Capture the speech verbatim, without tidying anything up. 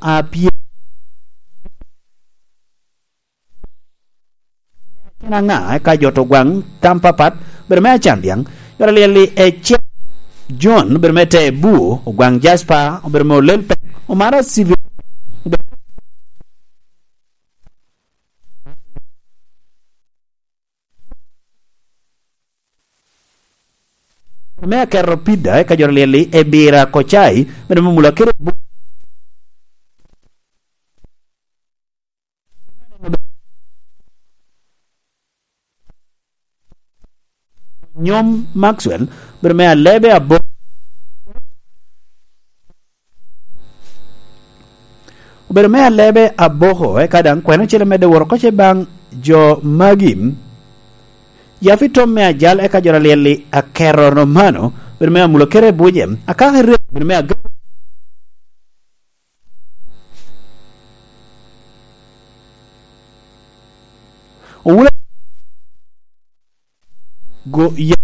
a pye-, Kin aŋa eka jo to gwaŋ tam papat, bedo me Acambiaŋ, jo alyel-li ecel, John, obedo me Tebu, ogwaŋ Jasper, obedo me Olel Pek, Omara Civil, obedo me aketo pida, eka jo alyel-li Ebira Kocai, obedo me Mula kede Bu-, Nyom Maxwell, obedo me Alebe Abo-, obedo me Alebe Aboko, eka daŋ kwene ocele medde woro koce baŋ jo magi. Yafi Tom me Ajal, eka jo alyel-li Akero Romano, obedo me Amulo kede Buje, Akaka Rek, obedo me Aga-, Owula go ya